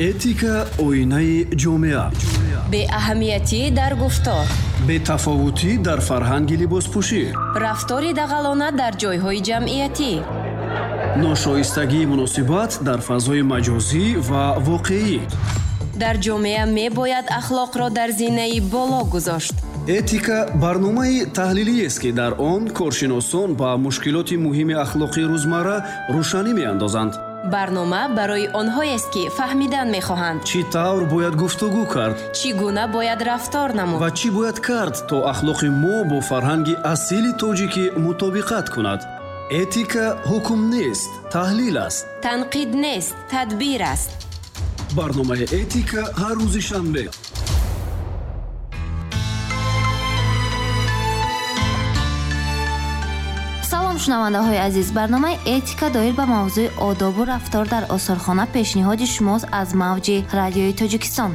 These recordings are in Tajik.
Этика оинаи ҷомеа. Беаҳамиятӣ дар гуфтор. Бетафовутӣ дар фарҳанги либоспӯшӣ. Рафтори дағалона дар ҷойҳои ҷамъиятӣ. Ношоистагии муносибат дар фазои маҷозӣ ва воқеӣ. Дар ҷомеа мебояд ахлоқро дар зинаи боло гузошт. Этика барномаи таҳлилиест, ки дар он коршиносон ба мушкилоти муҳими ахлоқии рӯзмарра рӯшанӣ меандозанд. Барнома барои онҳоест, ки фаҳмидан мехоҳанд. Чӣ тавр бояд гуфтугӯ кард? Чӣ гуна бояд рафтор намуд? Ва чӣ бояд кард, то ахлоқи мо бо фарҳанги асили тоҷикӣ мутобиқат кунад? Этика ҳукм нест, таҳлил аст. Танқид нест, тадбир аст. Барномаи Этика ҳар рӯзи шанбе. Салом, шунавандаҳои азиз. Барномаи Этика доир ба мавзӯи одобу рафтор дар осорхона пешниҳоди шумост аз мавҷи радиои Тоҷикистон.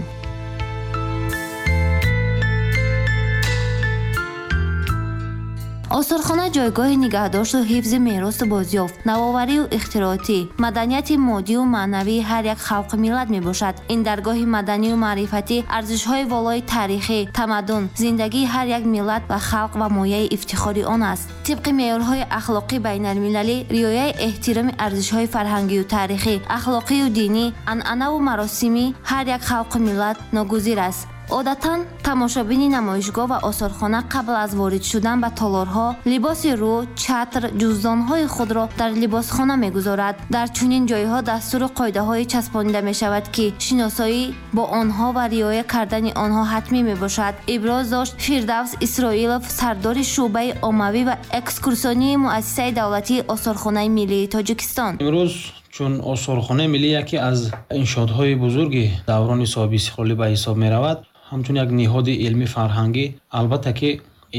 Осорхона ҷойгоҳи нигаҳдошту ҳифзи меросу бозёфт, навоварию ихтироотӣ, маданияти моддию маънавии ҳар як халқу миллат мебошад. Ин даргоҳи маданию маърифатӣ арзишҳои волои таърихӣ, тамаддун, зиндагии ҳар як миллат ва халқ ва мояи ифтихори он аст. Тибқи меъёрҳои ахлоқӣ байналмилалӣ, риояи эҳтироми арзишҳои фарҳангию таърихӣ, ахлоқию динӣ, анъанаву маросимӣ ҳар як халқу миллат ногузир аст. Одатан тамошобини намоишгоҳ ва осорхона қабл аз ворид шудан ба толорҳо либоси рӯ, чатр, ҷуздонҳои худро дар либосхона мегузорад. Дар чунин ҷойҳо дастуру қоидаҳое часпонида мешавад, ки шиносоӣ бо онҳо ва риоя кардани онҳо ҳатмӣ мебошад. Иброз дошт Фирдавс Исроилов, сардори шӯъбаи оммавӣ ва экскурсионии муассисаи давлатии Осорхонаи миллии Тоҷикистон. Имрӯз чун Осорхонаи миллӣ яке аз иншоотҳои бузурги даврони соҳиби истиқлолӣ ба ҳисоб меравад, ҳамчун як ниҳоди илмӣ фарҳангӣ, албатта ки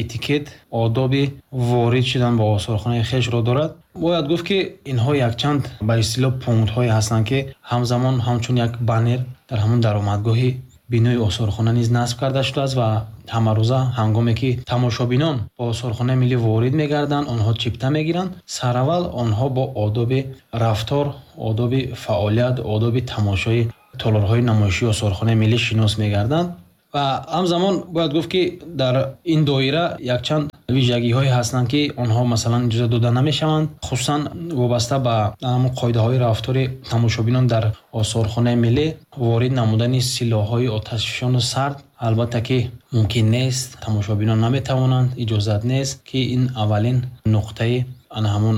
этикет, одоби ворид шудан ба осорхонаи хешро дорад. Бояд гуфт, ки инҳо якчанд ба истилоҳ пунктҳое ҳастанд, ки ҳамзамон ҳамчун як баннер дар ҳамон даромадгоҳи бинои осорхона низ насб карда шудааст ва ҳамарӯза ҳангоме ки тамошобинон ба осорхонаи миллӣ ворид мегарданд, онҳо чипта мегиранд. Сараввал онҳо бо одоби рафтор, одоби фаъолият, одоби тамошои толорҳои намоишии осорхонаи миллӣ шинос мегарданд. Ва ҳамзамон бояд гуфт, ки дар ин доира якчанд вижагиҳое ҳастанд, ки онҳо масалан иҷоза дода намешаванд, хусусан вобаста ба ҳамон қоидаҳои рафтори тамошобинон дар осорхонаи миллӣ. Ворид намудани силоҳҳои оташфишону сард албатта ки мумкин нест, тамошобинон наметавонанд, иҷозат нест, ки ин аввалин нуқтаи ана ҳамон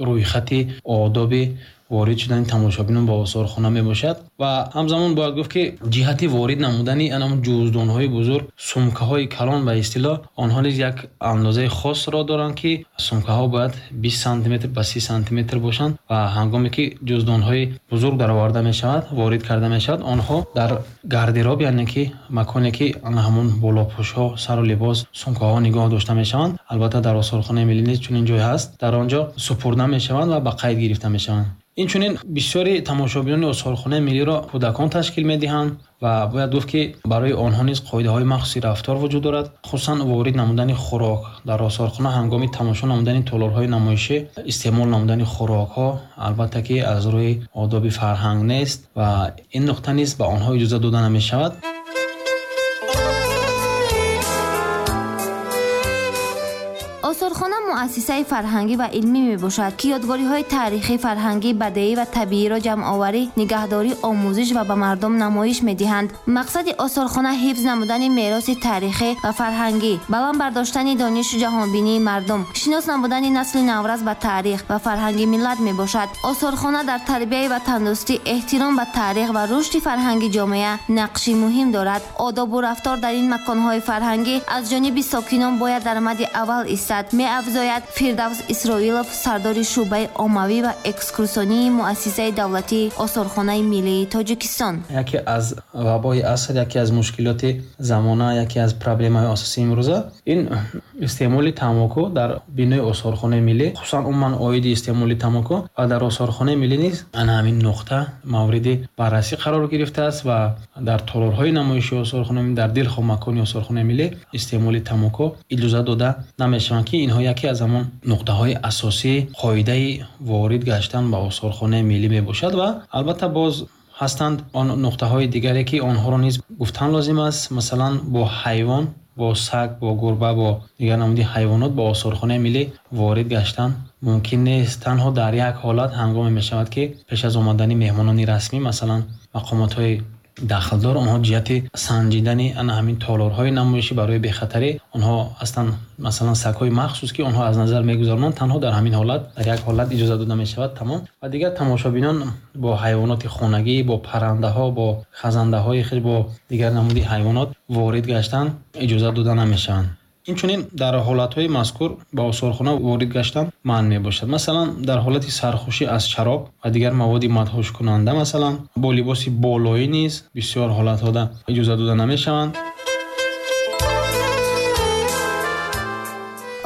рӯйхати одоби ворид шудани тамошобинон ба осорхона мебошад. Ва ҳамзамон бояд гуфт, ки ҷиҳати ворид намудани ҳамон ҷуздонҳои бузург, сумкаҳои калон ба истилоҳ, онҳо низ як андозаи хосро доранд, ки сумкаҳо бояд 20 сантиметр ба 30 сантиметр бошанд ва ҳангоме ки ҷуздонҳои бузург дароварда мешавад, ворид карда мешавад, онҳо дар гардероб, яъне ки маконе ки ҳамон болопӯшҳо, сару либос, сумкаҳо нигоҳ дошта мешаванд, албатта дар осорхонаи миллӣ низ чунин ҷой ҳаст, дар он ҷо супурда мешаванд ва ба қайд гирифта мешаванд. Инчунин бисёри тамошобинони осорхонаи миллиро кӯдакон ташкил медиҳанд ва бояд гуфт, ки барои онҳо низ қоидаҳои махсуси рафтор вуҷуд дорад, хусусан ворид намудани хӯрок дар осорхона ҳангоми тамошо намудани толорҳои намоишӣ, истеъмол намудани хӯрокҳо албатта ки аз рӯи одоби фарҳанг нест ва ин нуқта низ ба онҳо иҷоза дода намешавад. Осорхона муассисаи фарҳангӣ ва илмӣ мебошад, ки ёдгориҳои таърихӣ, фарҳангӣ, бадеӣ ва табииро ҷамъоварӣ, нигаҳдорӣ, омӯзиш ва ба мардум намоиш медиҳанд. Мақсади осорхона ҳифз намудани мероси таърихӣ ва фарҳангӣ, баланд бардоштани донишу ҷаҳонбинии мардум, шинос намудани насли наврас ба таърих ва фарҳанги миллат мебошад. Осорхона дар тарбияи ватандӯстӣ, эҳтиром ба таърих ва рушди фарҳанги ҷомеа нақши муҳим дорад. Одобу рафтор дар ин маконҳои фарҳангӣ аз ҷониби сокинон бояд дар мадди аввал истад, меафзояд Фирдавс Исроилов, сардори шӯъбаи оммавӣ ва экскурсионии муассисаи давлатии Осорхонаи миллии Тоҷикистон. Яке аз вабои аср, яке аз мушкилоти замона, яке аз проблемаҳои асосии имрӯза ин истеъмоли тамоку дар бинои осорхонаи миллӣ, хусусан умуман оиди истеъмоли тамоку ва дар осорхонаи миллӣ низ ана ҳамин нуқта мавриди баррасӣ қарор гирифтааст ва дар толорҳои намоишии осорхонаи миллӣ, дар дилхоҳ макони осорхонаи миллӣ истеъмоли тамоку иҷоза дода намешаванд, ки инҳо яке аз ҳамон нуқтаҳои асосии қоидаи ворид гаштан ба осорхонаи миллӣ мебошад. Ва албатта боз Ҳастанд он нуқтаҳои дигаре, ки онҳоро низ гуфтан лозим аст. Масалан, бо ҳайвон, бо саг, бо гурба, бо дигар намуди ҳайвонот ба осорхонаи миллӣ ворид гаштан мумкин нест. Танҳо дар як ҳолат ҳангоме мешавад, ки пеш аз омадани меҳмонони расмӣ, масалан мақомотҳои дахлдор, онҳо ҷиҳати санҷидани ана ҳамин толорҳои намоишӣ барои бехатарӣ онҳо ҳастанд, масалан сагҳои махсус, ки онҳо аз назар мегузаронанд. Танҳо дар ҳамин ҳолат, дар як ҳолат иҷоза дода мешавад, тамом. Ва дигар тамошобинон бо ҳайвоноти хонагӣ, бо паррандаҳо, бо хазандаҳои хеш, бо дигар намуди ҳайвонот ворид гаштан иҷоза дода намешаванд. Инчунин дар ҳолатҳои мазкур ба осорхона ворид гаштан манъ мебошад. Масалан, дар ҳолати сархӯшӣ аз шароб ва дигар маводи мадҳушкунанда, масалан бо либоси болоӣ низ бисёр ҳолатҳода иҷоза дода намешаванд.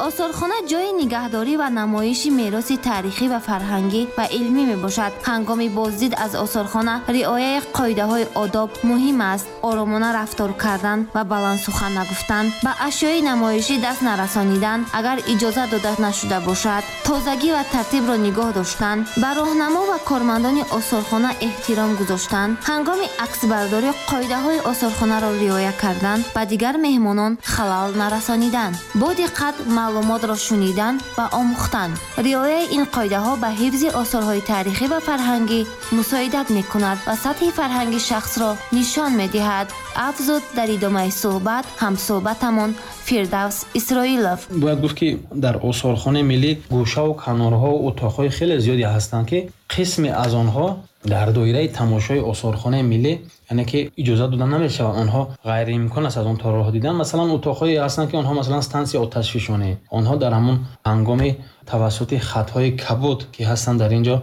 Осорхона ҷойи нигаҳдорӣ ва намоиши мероси таърихӣ ва фарҳангӣ ва илмӣ мебошад. Ҳангоми боздид аз осорхона риояи қоидаҳои одоб муҳим аст. Оромона рафтор кардан ва баланд сухан нагуфтан, ба ашёи намоишӣ даст нарасонидан, агар иҷоза дода нашуда бошад, тозагӣ ва тартибро нигоҳ доштан, ба роҳнамо ва кормандони осорхона эҳтиром гузоштан, ҳангоми аксбардорӣ қоидаҳои осорхонаро риоя кардан, ба дигар меҳмонон халал нарасонидан, бо диққат маълумотро шунидан ва омӯхтан. Риояи ин қоидаҳо ба ҳифзи осорҳои таърихӣ ва фарҳангӣ мусоидат мекунад ва сатҳи фарҳанги шахсро нишон медиҳад. Афзуд дар идомаи суҳбат ҳамсуҳбатамон Фирдавс Исроилов. Бояд гуфт, ки дар осорхонаи миллӣ гӯшаву канорҳо утоқҳои хеле зиёде ҳастанд, ки қисме аз онҳо дар доираи тамошои осорхонаи миллӣ, яъне ки иҷоза дода намешавад, онҳо ғайриимкон аст аз он толорҳо дидан. Масалан, утоқҳое ҳастанд, ки онҳо масалан стансияи оташфишонӣ, онҳо дар ҳамон ҳангоми тавассути хатҳои кабуд, ки ҳастанд дар инҷо,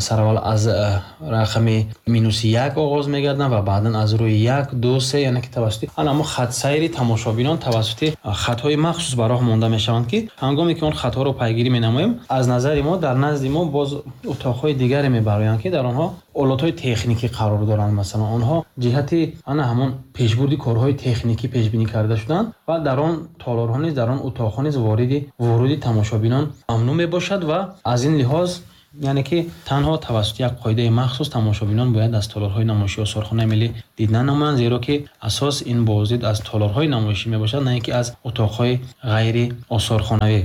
сараввал аз рақами -1 оғоз мегарданд ва баъдан аз рӯи 1, 2, 3, яъне ки тавассути ҳамон хатсайри тамошобинон тавассути хатҳои махсус ба роҳ монда мешаванд, ки ҳангоме ки он хатҳоро пайгирӣ менамоем, аз назари мо дар назди мо боз утоқҳои дигаре мебароянд, ки дар онҳо олатҳои техникӣ қарор доранд. Масалан, онҳо ҷиҳати ана ҳамон пешбурди корҳои техникӣ пешбинӣ карда шуданд ва дар он толорҳо низ, дар он утоқҳо низ воруди тамошобинон мамнӯъ мебошад ва аз ин лиҳоз, яъне ки танҳо тавассути як қоидаи махсус тамошобинон бояд аз толорҳои намоишии осорхонаи миллӣ дида намоянд, зеро ки асос ин боздид аз толорҳои намоишӣ мебошад, на ин ки аз утоқҳои ғайри осорхонавӣ.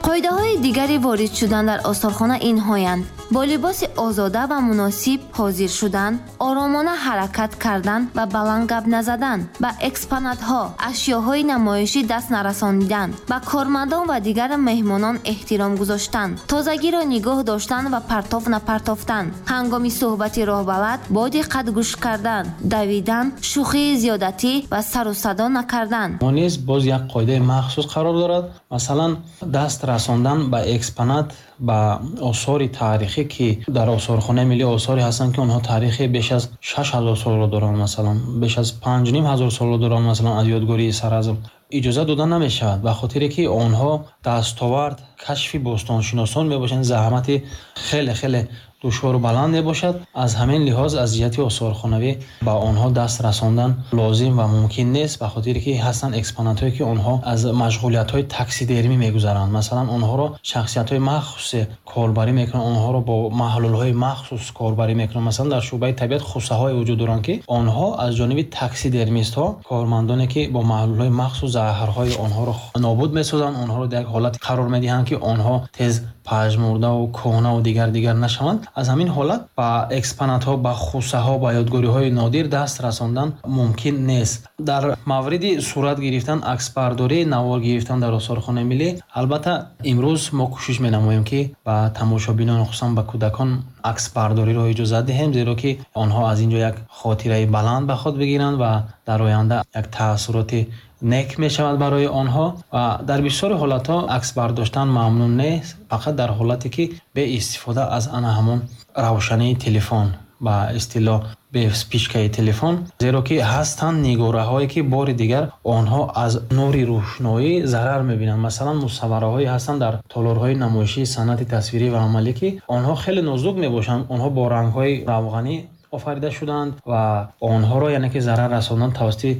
Қоидаҳои дигари ворид шудан дар осорхона инҳоянд: бо либоси озода ва муносиб ҳозир шудан, оромона ҳаракат кардан ва баланд гап назадан, ба экспонатҳо, ашёҳои намоишӣ даст нарасонидан, ба кормандон ва дигар меҳмонон эҳтиром гузоштан, тозагиро нигоҳ доштан ва партов напартофтан, ҳангоми суҳбати роҳбалад бо диққат гӯш кардан, давидан, шӯхии зиёдатӣ ва сару садо накардан. Мо низ боз як қоидаи махсус қарор дорад. Масалан, даст расондан ба экспонат, ба осори таърихӣ, ки дар осорхонаи миллӣ осоре ҳастанд, ки онҳо таърихи беш аз 6000 солро доранд, масалан беш аз 5500 солро доранд, масалан аз ёдгории Саразм иҷоза дода намешавад, ба хотире ки онҳо дастовард, кашфи бостоншиносон мебошанд, заҳмати хеле хеле душвору баланд мебошад. Аз ҳамин лиҳоз аз ҷиҳати осорхонавӣ ба онҳо даст расондан лозим ва мумкин нест, ба хотире ки ҳастанд экспонатҳое, ки онҳо аз машғулиятҳои таксидермӣ мегузаранд. Масалан, онҳоро шахсиятҳои махсусе корбарӣ мекунанд, онҳоро бо маҳлулҳои махсус корбарӣ мекунанд. Масалан, дар шӯъбаи табиат хусаҳое вуҷуд доранд, ки онҳо аз ҷониби таксидермистҳо, кормандоне ки бо маҳлулҳои махсус заҳрҳои онҳоро нобуд месозанд, онҳоро дар як ҳолат қарор медиҳанд, ки онҳо тез пажмурдаву кӯҳнаву дигар дигар нашаванд. Аз ҳамин ҳолат ба экспонатҳо, ба хусаҳо, ба ёдгориҳои нодир даст расондан мумкин нест. Дар мавриди сурат гирифтан, аксбардорӣ, навор гирифтан дар осорхонаи миллӣ, албатта имрӯз мо кӯшиш менамоем, ки ба тамошобинон, хусусан ба кӯдакон аксбардориро иҷозат диҳем, зеро ки онҳо аз ин ҷо як хотираи баланд ба худ бигиранд ва дар оянда як таассуроти нек мешавад барои онҳо. Ва дар бисёри ҳолатҳо акс бардоштан мамнӯъ нест, фақат дар ҳолате ки бе истифода аз ана ҳамон равшании телефон, ба истилоҳ бе спичкаи телефон, зеро ки ҳастанд нигораҳое, ки бори дигар онҳо аз нури рӯшноӣ зарар мебинанд. Масалан, мусаввараҳое ҳастанд дар толорҳои намоишии санъати тасвирӣ ва амалӣ, ки онҳо хеле нозук мебошанд, онҳо бо рангҳои равғанӣ офарида шудаанд ва онҳоро, яъне ки зарар расондан тавассути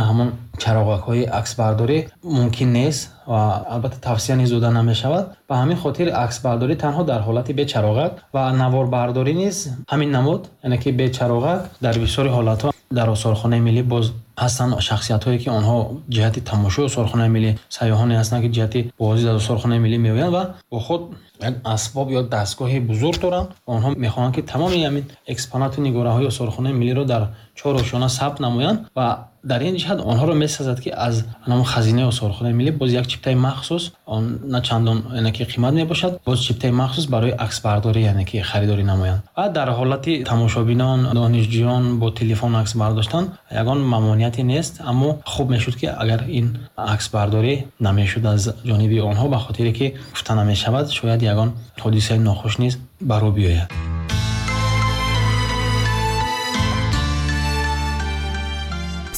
ҳамон чароғакҳои аксбардорӣ мумкин нест ва албатта тавсия низ дода намешавад. Ба ҳамин хотир аксбардорӣ танҳо дар ҳолати бечароғак ва наворбардорӣ низ ҳамин намуд, яъне ки бечароғак. Дар бисёри ҳолатҳо дар осорхонаи миллӣ боз ҳастанд шахсиятҳое, ки онҳо ҷиҳати тамошои осорхонаи миллӣ, сайёҳоне ҳастанд, ки ҷиҳати боздид аз осорхонаи миллӣ меоянд ва бо худ як асбоб ё дастгоҳи бузург доранд ва онҳо мехоҳанд, ки тамоми ҳамин экспонату нигораҳои осорхонаи миллиро дар чор ошёна сабт намоянд ва дар ин ҷиҳат онҳоро месазад, ки аз ҳамон хазинаи осорхонаи миллӣ боз як чиптаи махсус, он на чандон, яъне ки қимат мебошад, боз чиптаи махсус барои аксбардорӣ, яъне ки харидорӣ намоянд. Ва дар ҳолати тамошобинон, донишҷӯён бо телефон акс бардоштан ягон мамониате нест, аммо хуб мешуд, ки агар ин аксбардорӣ намешуд аз ҷониби онҳо, ба хотире ки гуфта намешавад, шояд ягон ҳодисаи нохуш низ ба рӯ биёяд.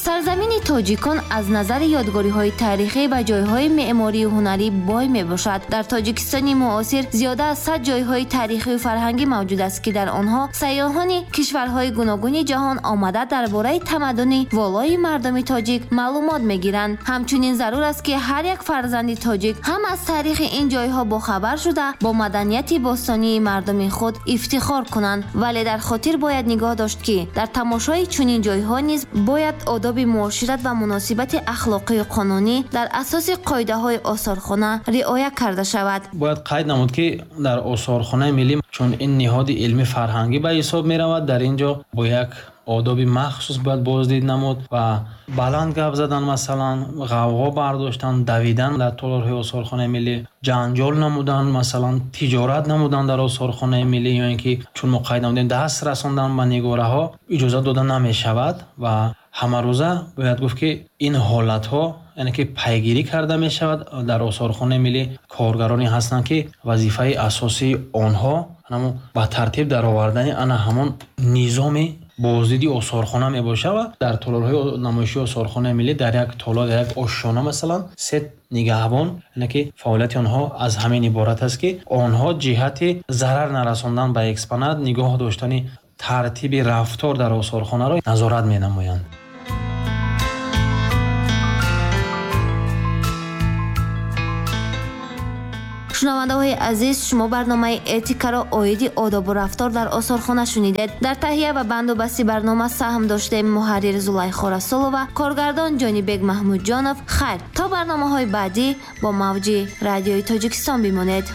Сарзамини тоҷикон аз назари ёдгориҳои таърихӣ ва ҷойҳои меъморию ҳунарӣ бой мебошад. Дар Тоҷикистони муосир зиёда аз 100 ҷойҳои таърихию фарҳангӣ мавҷуд аст, ки дар онҳо сайёҳони кишварҳои гуногуни ҷаҳон омада дар бораи тамаддуни волои мардуми тоҷик маълумот мегиранд. Ҳамчунин зарур аст, ки ҳар як фарзанди тоҷик ҳам аз таърихи ин ҷойҳо бохабар шуда, бо маданияти бостонии мардуми худ ифтихор кунанд. Вале дар хотир бояд нигоҳ дошт, ки дар тамошои чунин ҷойҳо низ бояд одоби муошират ва муносибати ахлоқию қонунӣ дар асоси қоидаҳои осорхона риоя карда шавад. Бояд қайд намуд, ки дар осорхонаи миллӣ, чун ин ниҳоди илмӣ фарҳангӣ ба ҳисоб меравад, дар ин ҷо бо як одоби махсус бояд боздид намуд ва баланд гап задан, масалан, ғавғо бардоштан, давидан дар толорҳои осорхонаи миллӣ, ҷанҷол намудан, масалан, тиҷорат намудан дар осорхонаи миллӣ ё ин ки, чун мо қайд намудем, даст расондан ба нигораҳо иҷозат дода намешавад. Ва ҳамарӯза бояд гуфт, ки ин ҳолатҳо, яъне ки пайгирӣ карда мешавад. Дар осорхонаи миллӣ коргароне ҳастанд, ки вазифаи асосии онҳо ҳамон ба тартиб даровардани ана ҳамон низоми боздиди осорхона мебошад ва дар толорҳои намоишии осорхонаи миллӣ дар як толор, дар як ошёна, масалан, се нигаҳбон, яъне ки фаъолияти онҳо аз ҳамин иборат аст, ки онҳо ҷиҳати зарар нарасондан ба экспонат, нигоҳ доштани тартиби рафтор дар осорхонаро назорат менамоянд. Шунавандаҳои азиз, шумо барномаи этикаро оиди одобу рафтор дар осорхона шунидед. Дар таҳия ва бандубасти барнома саҳм доштем муҳаррир Зулайхо Расулова, коргардон Ҷонибек Маҳмудҷонов. Хайр, то барномаҳои баъдӣ бо мавҷи Радиои Тоҷикистон бимонед.